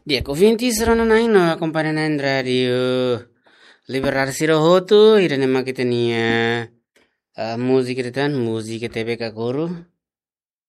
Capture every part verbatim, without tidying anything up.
Di'ak, ouvintes rona-na'in no akompaña na'in Rádiu Liberdade sira hotu, ida-ne'e mak ita-nia, ah, múzika ida tan, múzika T V Kakuru.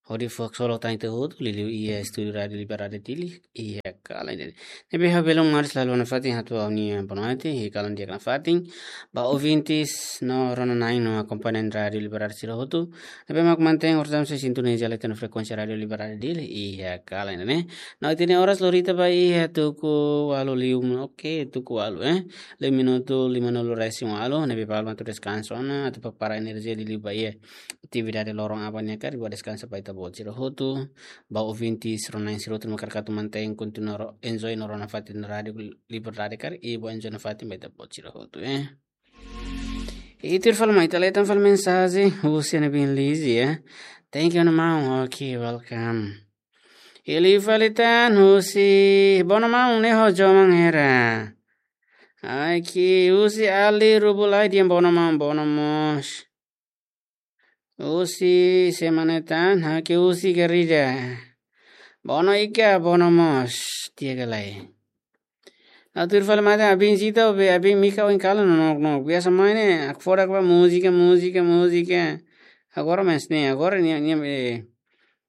Hodi fó haksolok tan ita hotu, liuliu iha estúdiu Rádiu Liberdade Dili, iha kalan ida-ne'e. Ne'ebé ha'u belun maris lalu nafatin hato'o ha'u-nia bonaite, iha kalan di'ak nafatin. Ba ouvintes no rona-na'in no akompaña na'in Rádiu Liberdade sira hotu, ne'ebé mak mantein hortam se sintoniza leten frekuénsia Rádiu Liberdade Dili, iha kalan ida-ne'e. No ita-nia oras lori tiha ba iha tuku ualu liu, oke, tuku ualu, eh. Liu minutu lima-nulu-resin-ualu, ne'ebé balu mak atu deskansa ona, atu prepara enerjia liuliu ba iha atividade loron aban nian karik, ba deskansa ba ita-boot sira hotu. Ba ouvintes rona-na'in sira hotu mak hakarak atu mantein kontinua ro-, enjoy no rona nafatin Rádiu Liberdade karik, i ba enjoy nafatin ba ita-boot sira hotu, eh. I tuir fali mai, ita leten fali mensajen husi Ana Bin Lizzy, eh. Thank you, Ana Maun. Okay, welcome. I liu fali tan husi Bono Maun ne'e ho Joman Hera. Ai, ke husi Ali Rubulai dehan Bono Maun, Bono mós. Husi Semana Tan, ha, ke husi Garida. Bono Ika, Bono mós, tiha ka lae. Atu tuir fali mai tan, Abin Zita, be Abin Mika, ohin kalan nonook-nonook. Biasa mai ne'e, hakfodak ba múzika, múzika, múzika. Agora mais ne'e, agora nia, nia, be,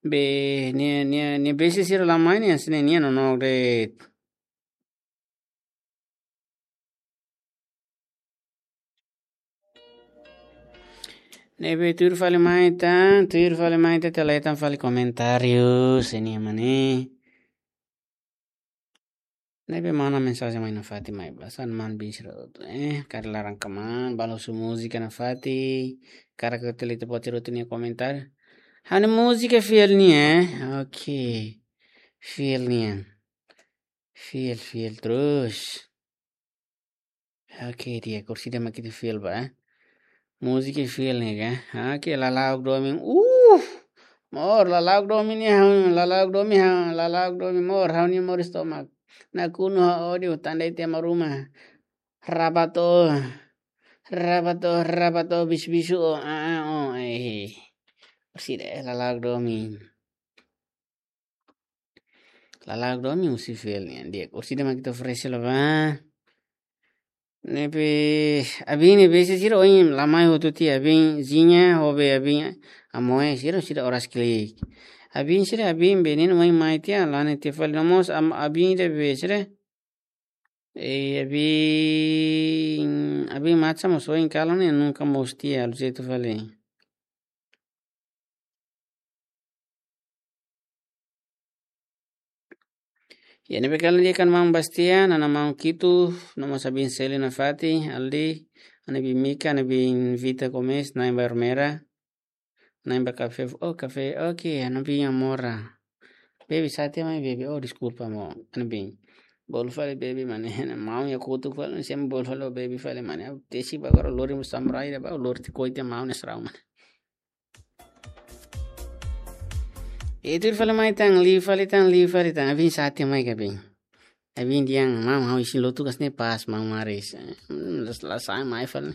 be, nia, nia, nia bese sira la mai ne'e, hanesan ne'e nia nonook de'it. Ne'ebé tuir fali mai tan, tuir fali mai tan, ita leten fali komentáriu, se nia mane. Ne'ebé mana mensajen mai nafatin mai ba, hanesan maun-bin sira hotu, eh, karik laran kmaan, balu husu múzika nafatin, karik ita leten buat sira hotu nia komentáriu. Ha'u-nia múzika fiel nian, eh, oke. Fiel nian. Fiel, fiel terus. Oke, di'ak, orsida mak ita fiel ba, eh. Múzika fiel ne'e ka. Oke, Lala'ok Domin. Uh! Mor, Lala'ok Domin ne'e ha'u, Lala'ok Domin ha'u, Lala'ok Domin mor, ha'u-nia moris tomak. Nakonu ha'u odi, tanda ita ema ruma. Rabato. Rabato, rabato, bisu-bisu, oh, ah, ah, oh, eh. Orsida, eh, Lala'ok Domin. Lala'ok Domin husi fiel nian, di'ak, orsida mak ita oferese la ba. Ne'ebé Abin ne'e bese sira ohin la mai hotu tiha, Abin Zinha, ho be Abin Amoe, sira, sira oras klik. Abin sira, Abin be ne'e ohin mai tiha, la ne'e tiha fali no mós am-, Abin ida be sira. Eh, Abin, Abin Matsa mós ohin kalan ne'e nunka mós tiha, halo jeitu fali. Ya, ne'ebé kalan di'ak, Ana Maun Bastian, Ana Maun Kitu, no mós Abin Seli nafatin, Aldi, Ana Bin Mika, Ana Bin Vita Gomes, Na'in Bayor Mera, Na'in ba kafé, oh, kafé, oke, Ana Bin Amora. Baby, sa'e tiha mai, baby, oh, deskulpa, maun, Ana Bin. Bolu fali, baby, mane, maun iha kotuk fali, sempre bolu fali, oh, baby, fali, mane, tesi ba agora, lori mo samurai, ba, lori te koite, maun, ne'e sarau, mane. Itu fali mai tan, liu fali tan, liu fali tan. Abin sa'e tiha mai ka, Abin? Abin dehan, maun, ha'u isin lotu kas ne'e pas, maun maris. Hmm, la, la sa'e mai fali.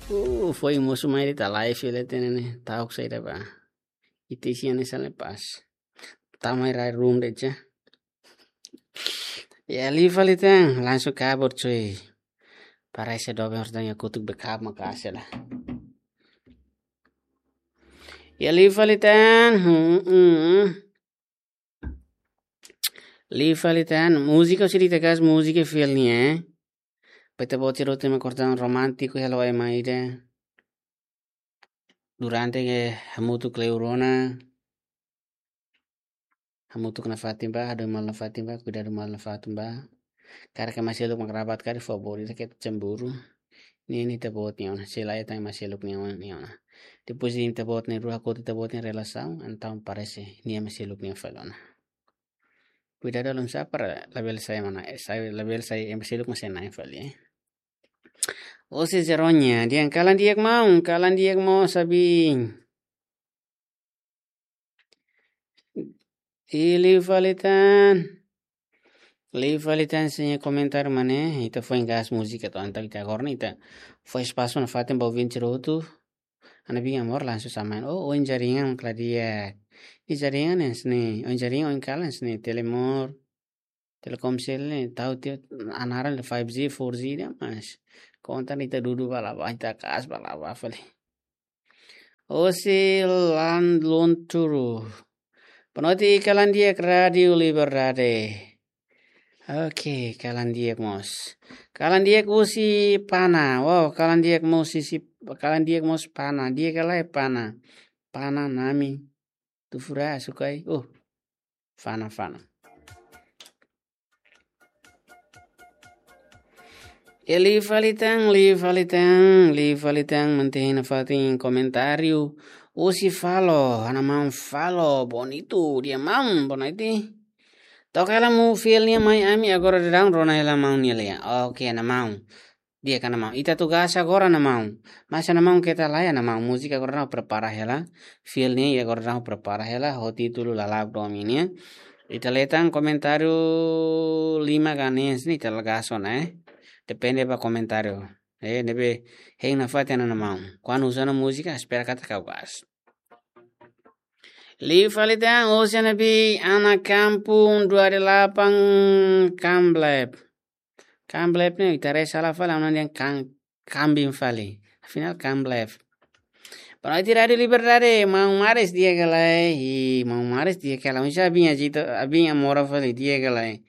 Uh, foin mosu mai de'it, live leten ne'e. Ta'uk saida ba. Ita isin hanesan ne'e pas. Tama iha room de'it. Ya, liu fali tan, langsung kabur, cuy. Parese doben harus tanya kutuk bekap makasih lah. Ya, liu fali tan, hmm, hmm. Liu fali tan, múzika sira ita kas, múzika fiel nian, eh. Ba ita-boot sira hotu mak kortan romántiku, hela wai mai ida. Durante ke hamutuk kleur ona. Hamutuk nafatin ba, hadomi malu nafatin ba, kuidadu malu nafatin ba. Karik ema seluk mak rabat karik, favór ita ke cemburu. Ne'e ita-boot nia ona, sei la iha tan ema seluk nia ona, nia ona. Depois de ita-boot nia rua hakotu ita-boot nia relasaun, entaun parese nia ema seluk nia fali ona. Kuidadu alun sa para labele sai mana, eh, sai, labele sai ema seluk mak sai na'in fali, eh. Ose Zeronya, dehan kalan di'ak maun, kalan di'ak maun, sabi. I liu fali tan. Liu fali tan, sei komentar mane, ita foin gas múzika to'o entaun ita agora ne'e ita fó espasu nafatin ba ouvinte sira hotu. Ana bin amor langsung sama. Oh, oin jaringan kala di'ak. Nia jaringan ne'e hanesan ne'e, oin jaringan oin kalan hanesan ne'e, Telemor, Telkomsel ne'e, tahu tiha naran five G, four G ida, mas konta ne'e ita dudu ba la ba, ita kaas ba la ba fali. Hosi Lan Lunturu. Boa noite, kalan di'ak Rádio Liberdade. Oke, kalan di'ak mós. Kalan di'ak husi Pana. Wow, kalan di'ak mós husi, kalan di'ak mós Pana. Di'ak ka lae Pana? Pana nami. Atu fura sukai. Oh, Fana, Fana. E liu fali tan, liu fali tan, liu fali tan, mantein nafatin komentáriu. Husi Falo, ana maun Falo, bonitu, di'ak maun, boa noite. Toka hela mu fiel nia mai ami agora daudaun rona hela maun nia lia. Oke, ana maun. Di'ak ka ana maun. Ita atu gas agora ana maun. Mas ana maun keta lae ana maun. Múzika agora daudaun prepara hela. Fiel nia agora daudaun prepara hela. Ho títulu Lala'ok Domin nian. Ita lee tan komentáriu lima ka hanesan ne'e ita la gas ona, eh. Depende ba komentáriu. Eh, ne'ebé hein nafatin ana maun. Kuandu uza ona múzika, espera katak ha'u gas. Liu fali tan, husi ana bin, ana kampung dua delapan Kamblep. Kamblep ne'e, ita haree sala fali, ana dehan kan, kambing fali. Afinál Kamblep. Boa noite Rádio Liberdade, maun Maris di'ak ka lae? Ih, maun Maris di'ak ka lae? Oinsá abin ajitu, abin amora fali di'ak ka lae?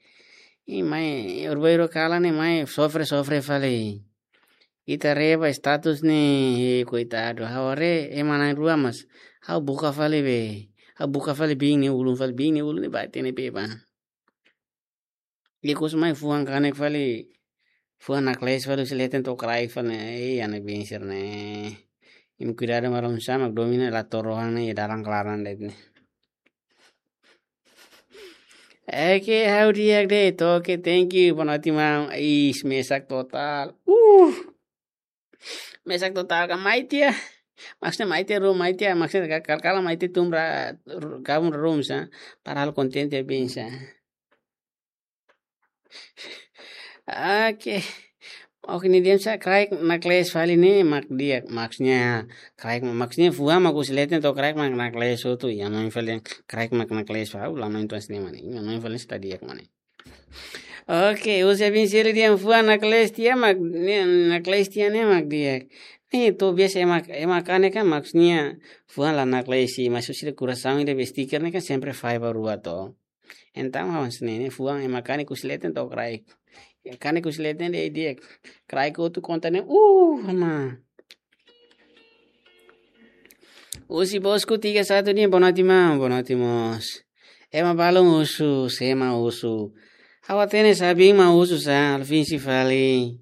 Ih, mai, urbai ro kalan ne'e mai, sofre, sofre fali. Ita haree ba status ne'e, eh, koitadu. Ha'u haree, ema na'in-rua mas. Ha'u buka fali be. Ha'u buka fali bin nia ulun fali, bin nia ulun ne'e bate ne'e be ba. Ikus mai fuan kanek fali. Fuan naklees fali, husi leten to'o kraik fali. Eh, ana bin sira-ne'e. Imi kuidadu maroon sama, mak domin ne'e la to'o rohan ne'e, dalan klaran de'it ne'e. Oke, ha'u di'ak de'it. Oke, thank you. Boa noite, maun. Is, mesak total. Uh. Mesak total ka mai tiha. Maksudnya mai tiha rum, mai tiha. Maksudnya ka-, kal-, kala mai tiha tun ra-, ru-, gabung ruma sa. Padahal kontente bin sa. Oke. Oke, nia dehan sá, kraik naklees fali ne'e mak di'ak. Maksudnya, kraik ma-, maksudnya fuan mak husi leten to'o kraik mak naklees hotu. Ya, maun fali kraik mak naklees fali. Ulang maun tuan sini mana? Ya, maun fali sudah di'ak mana? Oke, husi bin sira dehan fuan naklees tiha mak, ne'e, naklees tiha ne'e mak di'ak. Ne'e to'o biasa ema, ema kanek kan maksudnya fuan la naklees sih, maksud sira kurasaun ida be stiker ne'e kan sempre fai ba rua to'o. Entaun hanesan ne'e, ne'e fuan ema kanek husi leten to'o kraik. Ya, kanek husi leten de'it di'ak. Kraik hotu konta ne'e, uh, ama. Husi Bosku tiga satu dehan, boa noite, maun, boa noite mós. Ema balun husu, sé mak husu? Ha'u hatene sá, bin mak husu sá, Alvinsi fali.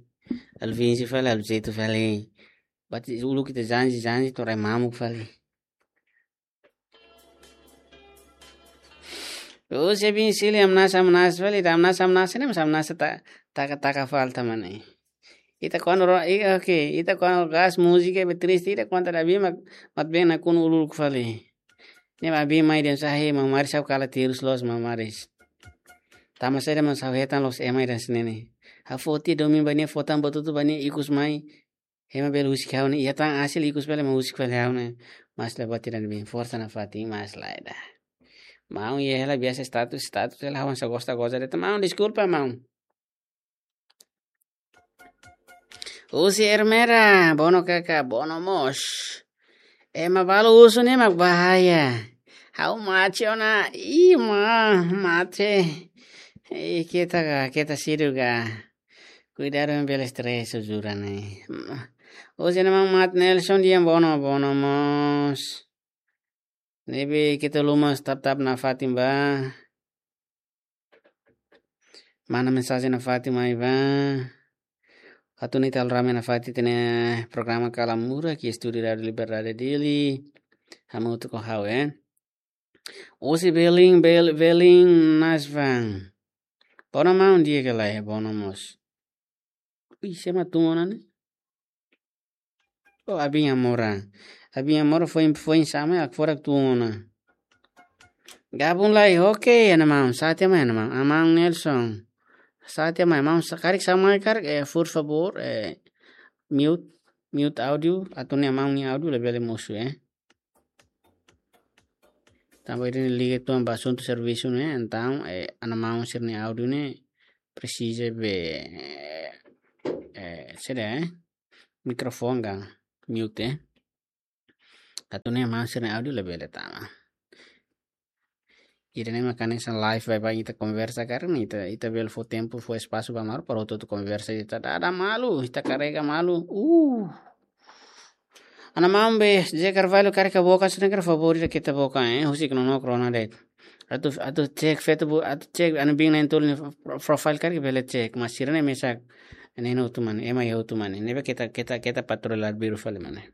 Alvinsi fali, Alvinsi fali. Bati uluk ita janji, janji, to'o rai mamuk fali. Husi bin sira dehan hamnasa, hamnasa fali, ita hamnasa, hamnasa ne'e, mas hamnasa ta-, taka, taka falta mana. Ita kuandu ro-, i-, oke, ita kuandu gas múzika be triste, ita kuandu ita bin mak, mak bin nakonu uluk fali. Ne'e mak bin mai dehan sá, he, maun Maris ha'u kala terus loos, maun Maris. Tanba saida, maun, ha'u hetan loos ema ida hanesan ne'e. Ha'u fó tiha domin ba nia, fó tan buat hotu ba nia, ikus mai. Ema bele husik ha'u ne'e, iha tan hasil ikus bele ema husik fali ha'u ne'e. Mas la buat ida ne'ebé, forsa nafatin, mas lae ida. Maun, iha hela biasa status, status hela, ha'u hanesan gosta goza de'it, maun, deskulpa, maun. Husi Ermera, bono kaka, bono mós. Ema balu husu ne'e mak bahaya. Ha'u mate ona, ih, ma, mate. Ih, keta ka, keta sidu ka. Kuidadu, ema bele stress, jura ne'e. Husi ema Mat Nelson dehan bono, bono mós. Ne'ebé keta haluha tap-tap nafatin ba. Mana mensajen nafatin mai ba. Atu nune'e ita halo rame nafatin ita-nia programa Kala Murak iha estúdiu Rádio Liberdade Dili. Hamutuk ho ha'u, eh. Husi Belin, Bel-, Belin Nasvan. Bono maun, di'ak ka lae? Bono mós. Ih, sé mak tun ona ne'e? Oh, abin amora. Abin amora foin, foin sama, hakfodak tun ona. Gabung lai, oke, ana maun. Sá tiha mai, ana maun. Ana maun Nelson. Sá tiha mai, maun, sá, karik sá mai, karik, eh, por favor, eh, mute. mute áudiu, atu nune'e maun nia áudiu labele mosu, eh. Tanba ida-ne'e liga uitoan ba asuntu servisu ne'e, entaun, eh, ana maun sira-nia áudiu ne'e presiza be, eh, saida, eh, mikrofone ka mute, eh. Atu nune'e maun sira-nia áudiu labele tama. Ida-ne'e mak hanesan live baibain ita konversa karik ne'e, ita, ita bele fó tempu, fó espasu ba malu para hotu-hotu konversa, ita dada malu, ita karrega malu. Uh. Ana maun be, José Carvalho karik boka, se ne'e karik favór ida keta boka, eh, husik nonook rona de'it. Atu, atu cek Facebook, atu cek Anabin na'in-tolu nia pro-, profile karik bele cek, mas sira-ne'e mesak, ne'e hotu mane, ema iha hotu mane, ne'ebé keta, keta, keta patrullar biru fali mane.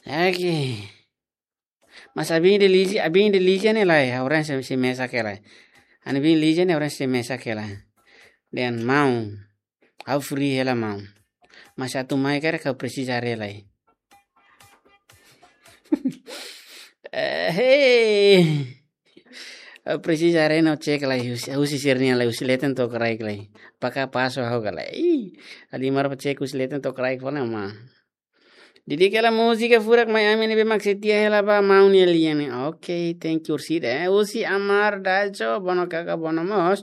Oke. Mas abin ida Lígia, abin ida Lígia ne'e lae, ha'u rasa sei, sei mesak hela. Anabin Lígia ne'e ha'u rasa sei mesak hela. Dehan maun, ha'u free hela maun. Mas atu mai karik ha'u presiza haree lai. Eh, hei. Ha'u presiza haree no cek lai, husi, husi sira-nian lai, husi leten to'o kraik lai. Apakah pasu ha'u ka lae. Ih, Alimar ba cek husi leten to'o kraik fali maun. Di'ak hela múzika furak mai ami ne'ebé mak setia hela ba maun nia lian ne'e. Oke, thank you orsida, eh. Husi Amar Dajo, bono kaka, bono mós.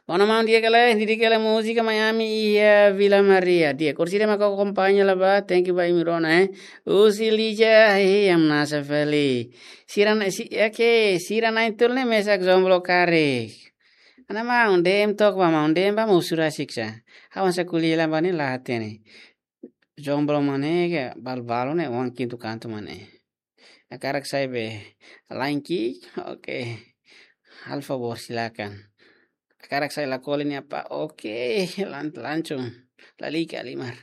Bono maun, di'ak hela, di'ak hela múzika mai ami iha Vila Maria. Di'ak, orsida mak akompaña hela ba, thank you ba imi rona, eh. Husi Lígia, eh, hamnasa fali. Sira na-, si-, oke, sira na'in-tolu ne'e mesak jomblo karik. Ana maun, D M took ba maun, D M ba mosu rasik sá. Ha'u hanesan ko'alia ba ne'e la hatene. Jomblo mane ke balu-balu ne'e oan kintu kantu mane. Hakarak sai be lain ki'ik, oke. Halo favór, silakan. Hakarak sai la kole nia pá, oke, lan-, langsung. Lalika Alimar.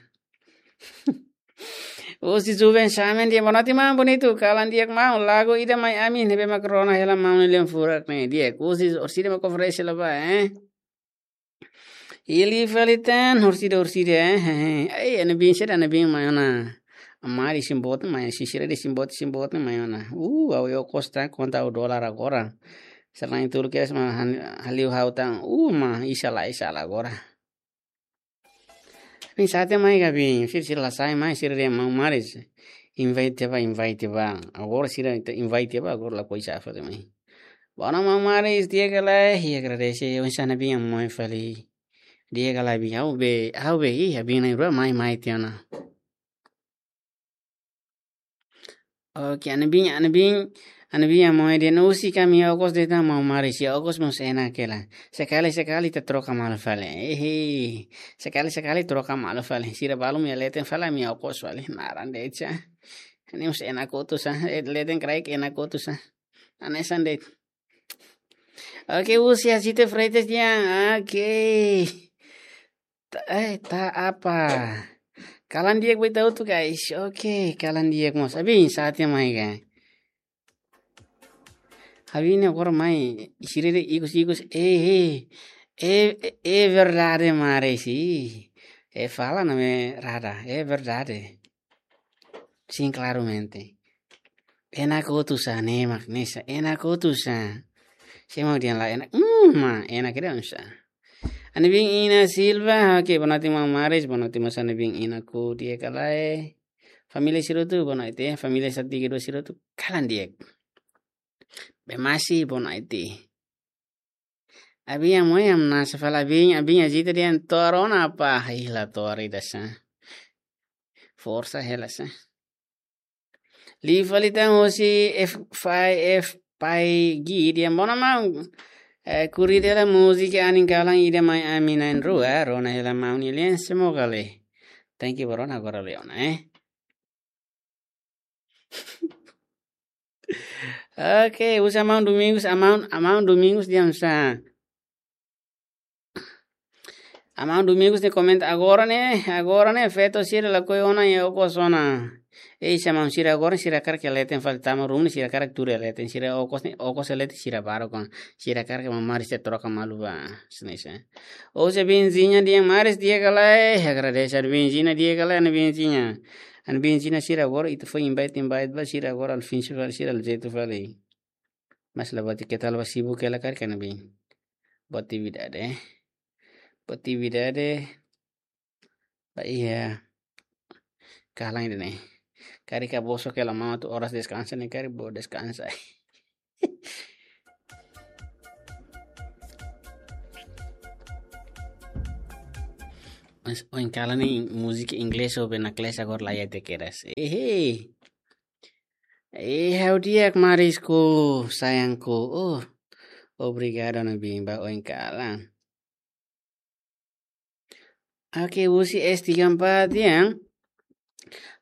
Husi Juven Samen, di'ak, boa noite maun bonitu, kalan di'ak maun, lagu ida mai ami ne'ebé mak rona hela maun nia lian furak ne'e, di'ak. Husi orsida mak oferese hela ba, eh. Hili fali tan, orsida, orsida, eh. Ai, Anabin, saida Anabin mai ona. Amari simbot mai, sisira de simbot, simbot mai ona. Uh, ha'u iha okos tan, konta ha'u dolar agora. Selain itu, kira sama han-, haliu ha'u tan, uh, ma, isa la, isa la agora. Bin sate mai ka bin, sira, sira la sai mai, sira dehan maun Maris. Invite ba, invite ba. Agora sira ita invite ba, agora lakohi sá fali mai. Bono maun Maris, di'ak ka lae, i agradese, oinsá Anabin nia moe fali. Di'ak ka lae bin, ha'u be, ha'u be, ih, abin na'in-rua mai, mai tiha ona. Oke, Anabin, Anabin, Anabin nia moe dehan husi ami iha okos de'it maun Maris, iha okos mós enak hela. Sekali-sekali ita troka malu fali. Ehe, sekali-sekali troka malu fali. Sira balun iha leten fali, ami iha okos fali. Naran de'it sá. Ne'e mós enak kotu sá. Eh, leten kraik enak kotu sá. Hanesan de'it. Oke, husi Asite Freitas dehan. Oke. Ta-, eh, ta apa. Kalan di'ak ba ita hotu, guys. Oke, kalan di'ak mós. Abin, sate mai ka. Abin ne'e agora mai, sira dehan ikus-ikus, eh, eh, eh, eh, verdade, Maris. Eh, fala na me rada, eh, verdade. Sim, claramente. Enak kotu sá, ne'e mak, ne'e sá, enak kotu sá. Sé mak dehan la enak, hmm, ma, enak ida oinsá. Anabin Ina Silva, oke, boa noite maun Maris, boa noite mós Anabin Ina ku, di'ak ka lae. Família sira hotu, boa noite, família satu tiga dua sira hotu, kalan di'ak. Bem masi, boa noite. Abin nia moe hamnasa fali, abin, abin nia jita dehan to'o rona apa, ih, la to'o ida sá. Forsa hela sá. Liu fali tan husi F five F Pai Gi dehan bono maun. Eh, kuri dela múzika anin kalan ida mai ami na'in-rua, rona hela maun nia lian, semoga le. Thank you, bro, agora le ona, eh. Oke, husi Amaun Domingos, Amaun, Amaun Domingos dehan sá. Amaun Domingos ne'e komenta agora ne'e, agora ne'e feto sira lakohi ona iha okos ona. Ei, se maun sira agora sira hakarak iha leten fali, tama ruma ne'e sira hakarak tuur iha leten, sira okos ne'e, okos iha leten sira baruk ona. Sira hakarak maun Maris sei troka malu ba. Sini sa. Husi Benzinha dehan Maris di'ak ka lae, agradese Ana Benzinha, di'ak ka lae Ana Benzinha. Ana Benzinha sira agora ita fó invite, invite ba sira agora al fin sira, sira al jeito fali. Mas la buat ida, keta la ba sibuk hela karik Ana Bin. Buat atividade, eh. Buat atividade. Ba iha kalan ida-ne'e. Karik ka bosok hela maun atu oras deskansa ne'e, karik bele deskansa. Mas oin kalan ne'e múzika inglés ho be naklees agora la iha te kedas. Ehe. Eh, ha'u di'ak marisku, sayangku. Oh, obrigadu ne'ebé ba oin kalan. Oke, husi S tiga empat ya.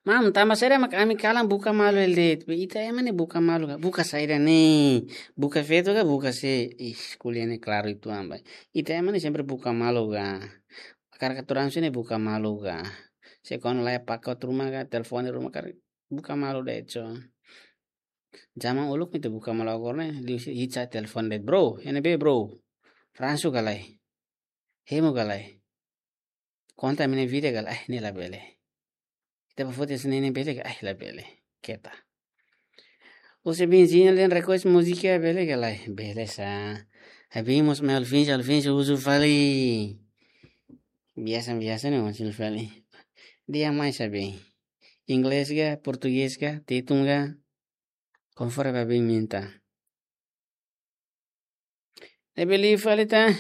Maun, tanba saida mak ami kalan buka malu hela de'it? Be ita ema ne'e buka malu ka? Buka saida ne'e? Buka feto ka buka sé? Ih, ko'alia ne'e klaru uitoan ba. Ita ema ne'e sempre buka malu ka? Karik atu rame sé ne'e buka malu ka? Sé kuandu la iha paket ruma ka, telefone ruma karik buka malu de'it so. Zaman uluk ne'e ita buka malu, agora ne'e liuhusi hit sa'e telefone de'it, bro. Iha ne'ebé, bro? Ransu ka lae? Hemu ka lae? Konta ami-nia vida ka lae? Ai, ne'e labele. Ita bá foti hanesan ne'e bele ka? Ai, labele. Keta. Husi Benzinho, nia request múzika bele ka lae? Bele sá. Abin mós mai ouvinte, ouvinte husu fali. Biasa, biasa ne'e husu fali. Di'ak mai sabe. Inglés ka, portugés ka, tetun ka? Konforme ba abin minta. Ne'ebé liu fali tan.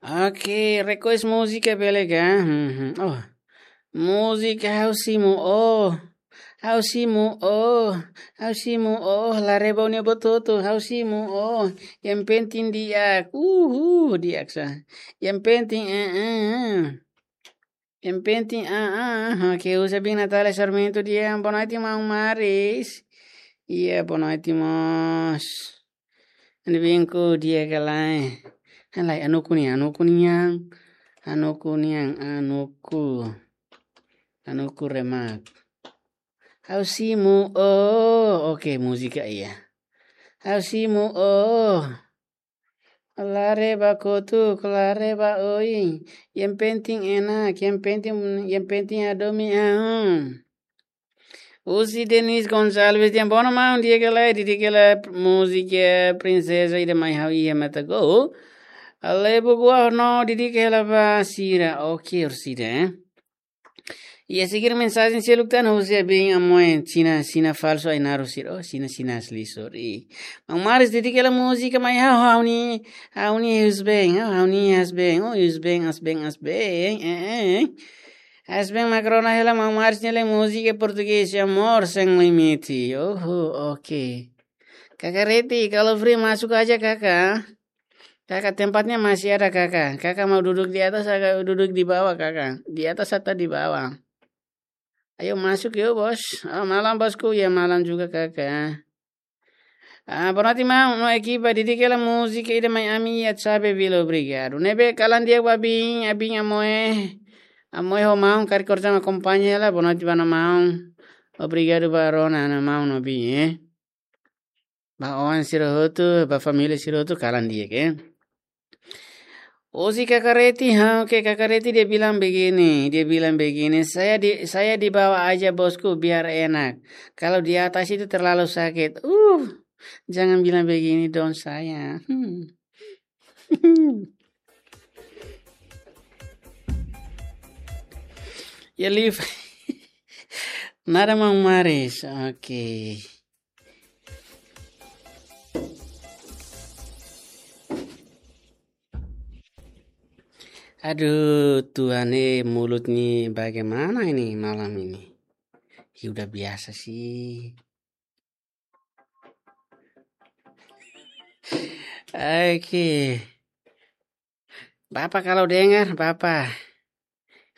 Oke, request múzika bele ka? Mhm. Oh. Múzika Ha'u Simu Oh. Ha'u simu oh. Ha'u simu oh. La reba ó-nia buat hotu. Ha'u simu oh. Yang penting di'ak. Uhu, di'ak sá. Yang penting, eh, eh, eh. Yang penting, ah, ah, ah, oke, husi abin Natália Sarmento, di'ak, boa noite, maun Maris. Iha, boa noite, mós. Anu binku di'ak ka lae? Halai, anuku nian, anuku nian. Anuku nian, anuku. Anuku remak. Ha'u simu oh. Oke, múzika iha. Ha'u simu oh. La reba kotuk, la reba oin. Yang penting enak, yang penting, yang penting hadomi ha'u. Husi Denis Gonçalves, di'ak, boa noite maun, di'ak ka lae, di'ak ka lae, múzika Prinseza Ida Mai Ha'u Iha Mata Go. Ale bugua no, di'ak ka lae ba sira, oke, orsida, eh. Iha seguir mensajen seluk tan husi abin Amoe, Xina, Xina falsu ai naru sir, oh, Xina, Xina asli, sorry. Maun Maris, di'ak ka lae múzika mai ha'u, ha'u-nia, ha'u-nia husband, ha'u, ha'u-nia husband, oh, husband, husband, husband, eh, eh, eh. Husband mak rona hela maun Maris nia lae múzika portugés, Amor Sem Limite. Oho, oke. Kaka Reti, kalau free masuk aja, Kaka. Kaka, tempatnya masih ada, Kaka. Kaka mau duduk di atas, Kaka duduk di bawah, Kaka. Di atas atau di bawah? Ayo masuk yuk, Bos. Oh, malam, Bosku. Ya, malam juga, Kaka. Ah, boa noite, maun, no ekipa, di'ak ka lae múzika Ida Mai Ami Iha Xabe Vila, obrigadu. Ne'ebé kalan di'ak ba abin, abin Amoe. Amoe ho maun, karik korta akompaña hela, boa noite ba ona maun. Obrigadu ba rona ona maun no abin, eh. Ba oan sira hotu, ba família sira hotu, kalan di'ak, eh. Husi Kaka Reti, ha, oke, Kaka Reti dia bilang begini, dia bilang begini, "Saya di, saya dibawa aja, Bosku, biar enak. Kalau di atas itu terlalu sakit." Uh, jangan bilang begini dong saya. Hmm. Ya, live. Nada, maun Maris. Oke. Aduh, Tuhan, eh, mulut ni bagaimana ini malam ini? Ya, udah biasa sih. Oke. Bapak kalau dengar, Bapak.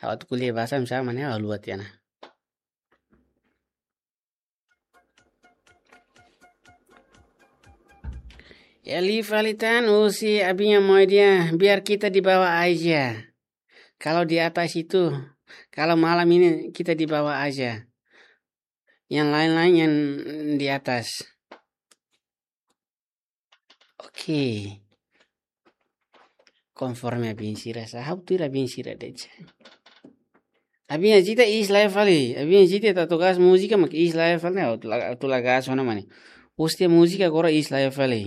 Ha'u atu ko'alia bahasa misalnya mana, ha'u luat ya, nah. Ya, live fali tan husi abin Amoe, dia, "Biar kita di bawah aja. Kalau di atas itu, kalau malam ini kita di bawah aja. Yang lain-lain yang di atas." Oke. Konforme abin sira sá, ha'u tuir abin sira de'it. Abin Ajita is live fali. Abin Ajita atu gas múzika mak is live fali, ha'u atu la-, atu la gas ona mane. Pois ita múzika agora iis laiha fali.